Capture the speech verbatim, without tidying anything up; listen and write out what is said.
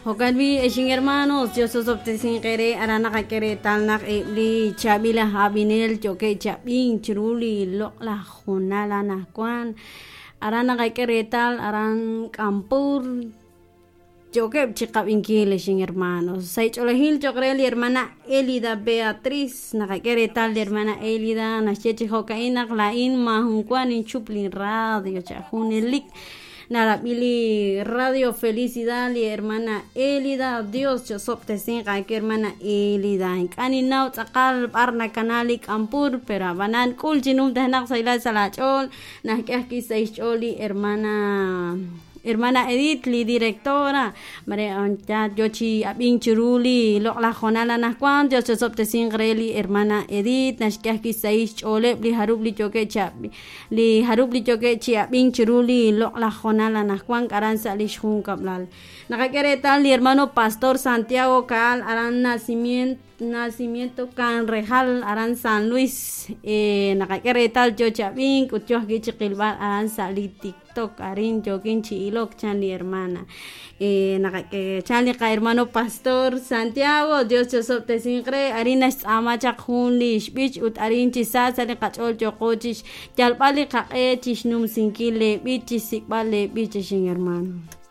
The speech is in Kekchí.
Jo'kan b'i' ex hermanos Dios osob'tesinq eere aran naqak'e reetal naq eb' li chaab'il aj ab'inel yookeb' chi ab'ink chiru li loq'laj hoonal anaqwan aran naqak'e reetal aran K'ampur yookeb' chi qab'inkil ex hermanos sa' ch'oolejil cho'q re li hermana Elida Beatriz naqak'e reetal li hermana Elida naxye chi jo'ka'in naq laa'in maajun wa ninchup li radio cha junelik narab'i li Radio Felicidad li hermana Elida Dios chosob'tesinq aawe hermana Elida ink'a' ninnaw tz'aqal b'ar nakana li K'ampur pero ab'anan k'ul chi numtajenaq sahilal sa' laach'ool najk'e ajwi' sa' xch'ool li hermana hermana Edith li directora mare ya yo chi ab'ink chiru li loq'laj hoonal anaqwan Dios chosob'tesinq re li hermana Edith naxk'e ajwi' sa' xch'ooleb' li jarub' li yookeb' chi ab- li jarub' li yookeb' chi ab'ink chiru li loq'laj hoonal anaqwan aran sa' li xjunkab'lal naqak'e reetal li hermano Pastor Santiago Caal aran nacimiento nacimiento Canrejal aran San Luis eh, naqak'e reetal yo chi ab'ink ut yo ajwi' chi qilb'al aran sa' li TikTok arin yookin chi ilok chan li hermana eh, naqak'e chan li qa hermano Pastor Santiago Dios chosob'tesinq re arin naxtz'aama chaq jun li xb'ich ut arin chi sa sa' li qach'ool yooqo chi xyalb'al li qaq'e chi xnumsinkil le b'ich chi xsik'b'al le b'ich ex hermano.